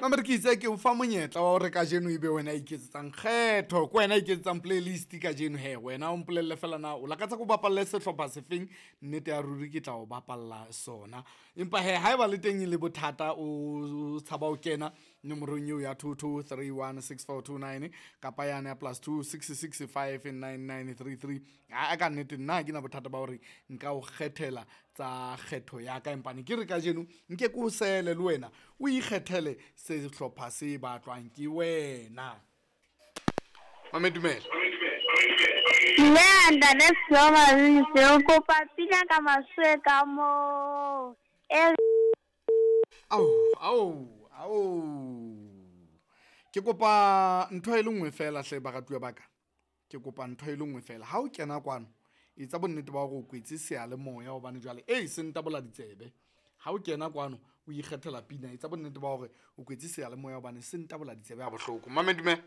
Mamere, ke itse ke o fa monyetla wa hore kajeno ebe wena a iketsetsang kgetho, ke wena a iketsetsang playlist kajeno he. Wena o mpolelle fela na o lakatsa ke o bapalle sehlopha sefeng, nnete ya ruri ke tla o bapalla sona. Empa hee ha eba le teng e le bothata o tshaba ho kena nomorong eo ya 22316429 kapa yane ya +26659933. Aa ka nnete nna ha ke na bothata ba hore nka o kgethela tsa kgetho ya ka, empa ne ke re kajeno nke ke o sele le wena o ikgethele sehlopha se batlwang ke wena. Mame, dumela. Dumela ntate Seo, o kopa pina ka maswe ka moo e. Ao, ao, ao, ke kopa ntho e le nngwe fela hle, baratuwa ba ka. Ke kopa ntho e le nngwe fela, ha o kena kwano etsa bonnete ba hore o kwetse seyalemoya gobane jwale e se ntabola ditsebe. Ha o kena kwano o ikgethela pina, etsa bonnete ba hore o kwetse seyalemoya gobane se ntabola ditsebe ha bohloko. Mame, dumela.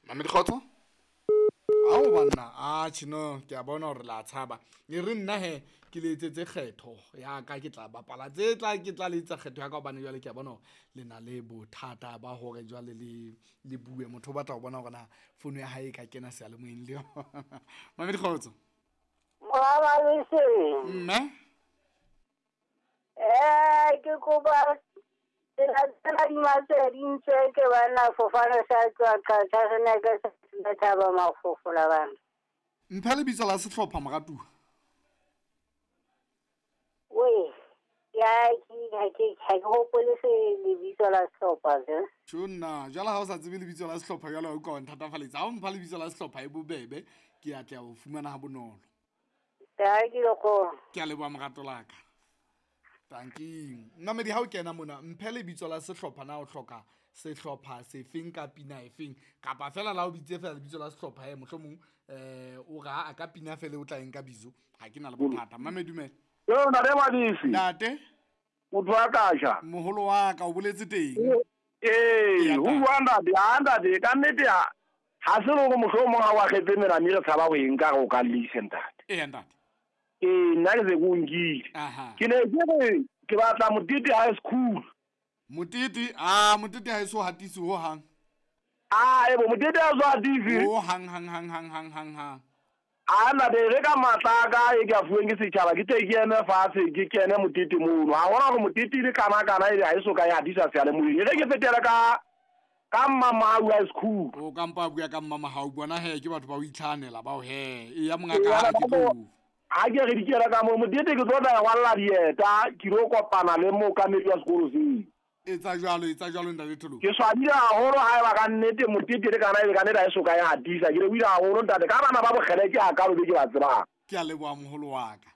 Mame, dikgotso. Ao banna, atjhe no, ke a bona hore la tshaba. E re nna he ke le etsetse kgetho ya ka, ke tla bapala tse tla, ke tla le etsa kgetho ya ka gobane jwale ke a bona hore le na le bothata ba hore jwale le bue. Motho o batla ho bona hore na founu ya hae e ka kena seyalemoyeng le yona. Mame, dikgotso. Mme. Ke kopa tsela tsena di masedi ntse ke bana fofane sa tswa qatha re ne ke sa thaba mafofola bana. Mphe lebitso la sehlopha moratuwa. We, ya ke ha ke hopole se lebitso la sehlopha se. Tjho nna, jwale ha o sa tsebe lebitso la sehlopha jwale o ka wa nthatafalletsa. Ha o mpha lebitso la sehlopha e bobebe, ke a tla o fumana ha bonolo. Ke Ke a leboha morato la ka. Tanking. Mmamedi, ha o kena mona mphe lebitso la sehlopha, na o hloka sehlopha sefeng ka pina efeng, kapa fela la o bitse fela lebitso la sehlopha he mohlomong o ra a ka pina fela o tla eng ka bizo, ha ke na le bothata. Mmamedi, dumela. Yo ntate Madisi. Ntate. Motho wa ka ja. Moholo wa ka o boletse teng. Ee, ho bua ntate, ha ntate ka nnete ha ha se le hore mohlomong ha wa kgetse melami re tshaba ho e nka re o ka llese ntate. Ee ntate. Ee, nna ke se ke o nkile. Ke ne ke re ke batla Motete High School. Motete, a Motete ha e so hatise ho hang. A ebo Motete ha so hatise. Ho hang hang hang hang hang hang hang. A ntate re ka matla ka e ke a fuweng ke setjhaba ke tle ke eme fatshe ke kene Motete mono. Ha hona hore Motete le kana kana ebe ha e so ka ya hatisa seyalemoyeng. E re ke fetele ka Mmamahau High School. O ka mpa bua ka Mmamahau bona he ke batho ba o itlhanela bao he. E ya mongaka ha ke tlo. Ha ke re dikela ka mo Motete ke tlo tla rwalla dieta ke lo kopana le mookamedi wa sekolo seo. Etsa jwalo, etsa jwalo ntate Tholo. Ke swabile haholo ha eba ka nnete Motete le kana ebe ka nnete ha e so ka e hatisa. Ke lebohile haholo ntate ka bana ba bokgele ke a kalo be ke ba tsebang. Ke a leboha moholo wa ka.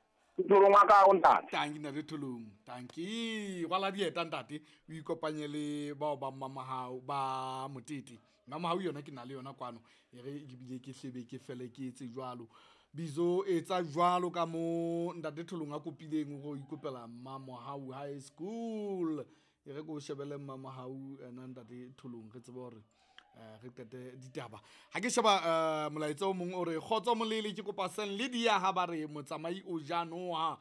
Tholong wa ka o ntate. Tanki ntate Tholong. Tanki. Rwala dieta ntate, o ikopanye le bao ba Mmamahau ba Motete. Mmamahau yona ke na le yona kwano. E re ke bile ke hlebe ke fele ke etse jwalo. Bizo etsa jwalo ka mo ntate Tholong a kopileng hore o ikopela Mmamahau High School. E re ko shebele Mmamahau ena ntate Tholong re tsebe hore re qete ditaba. Ha ke sheba molaetsa o mong o re kgotso molele ke kopa Saint Lydia ha ba re motsamai o ja noha.